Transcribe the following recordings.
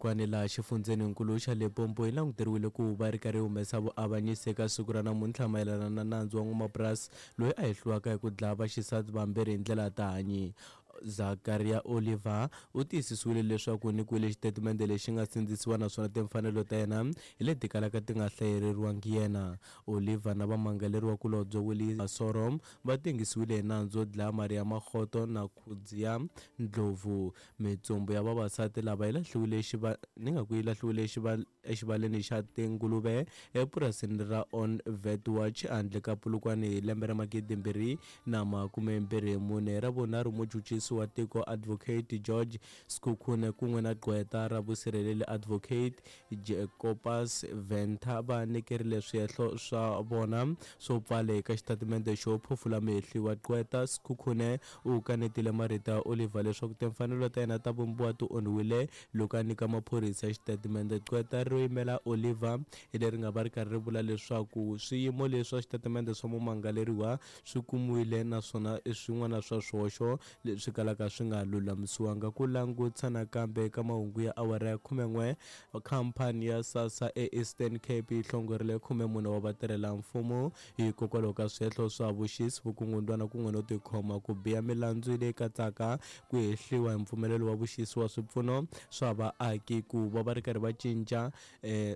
Kwani laha xifundzheninkulu xa Limpopo yi languteriwile ku va ri karhi yi humesa vuavanyisi eka siku ra namuntlha mayelana na nandzu wa n'wamapurasi loyi a hehliwaka hi ku dlaya vaxisati vambirhi hi ndlela ya tihanyi. Zakaria Oliver u tiyisisiwile leswaku u nyikiwile xitatimende lexi nga sindzisiwa naswona timfanelo ta yena hi leti kalaka ti nga hlayereriwangi yena. Oliver na vamangaleriwa-kulobye Willie Masoro va tengisiwile hi nandzu wo dlaya Maria Makgoto na Khudzia Ndlovu. Mitsumbu ya vavasati lava yi lahliwile exiva ni nga ku yi lahliwile exiva exivaleni xa tinguluve epurasini ra On Vetwatch handle ka Polokwane hi lembe ra 2024. Ra vunharhu muchuchisi wa tiko Advocate George Sekhukhune kun'we na gqweta ra vusirheleli Advocate Jacobus Venter va nyikerile swihehlo swa vona swo pfala eka xitatimende xo phofula muhehliwa. Gqweta Sekhukhune u kanetile marito ya Oliver leswaku timfanelo ta yena ta vumbiwa ti onhiwile loko a nyika maphorisa xitatimende. Gqweta ro yimela Oliver hi leri nga va ri karhi ri vula leswaku swiyimo leswa xitatimende swa mumangaleriwa swi kumiwile naswona i swin'wana swa swihoxo leswi kalaka swi nga lulamisiwanga. Ku langutisa nakambe eka mahungu ya awara ya 11, khamphani ya SASSA eEastern Cape yi hlongorile 14 wa vatirhela-mfumo hikokwalaho ka swihehlo swa vuxisi, vukungundwana kun'we no tikhoma ku biha. Milandzu leyi katsaka ku hehliwa hi mpfumelelo wa vuxisi wa swipfuno swa vaaki ku va va ri karhi va cinca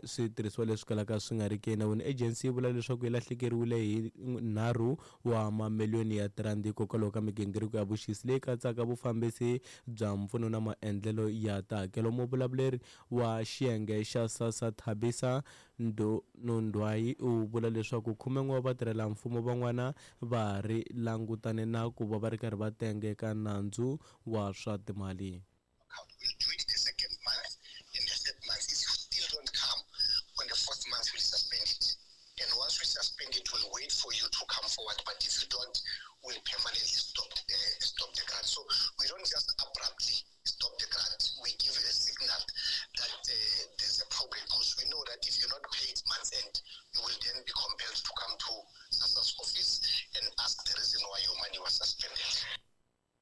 switirhisiwa leswi kalaka swi nga riki enawini. Ejensi yi vula leswaku yi lahlekeriwile hi nharhu wa mamiliyoni ya tirandi hikokwalaho ka migingiriko ya vuxisi leyi katsaka vufambisi bya mpfuno na maendlelo ya tihakelo. Muvulavuleri wa xiyenge xa SASSA Thabisa Nondwayi u vula leswaku khumen'we wa vatirhela-mfumo van'wana va ha ri langutane na ku va va ri karhi va tengeka nandzu wa swa timali. We'll do it the second month and the third month. If you still don't come on the fourth month, we'll suspend it. And once we suspend it, we'll wait for you to come forward. But if you don't, we'll permanently stop the grant. So we don't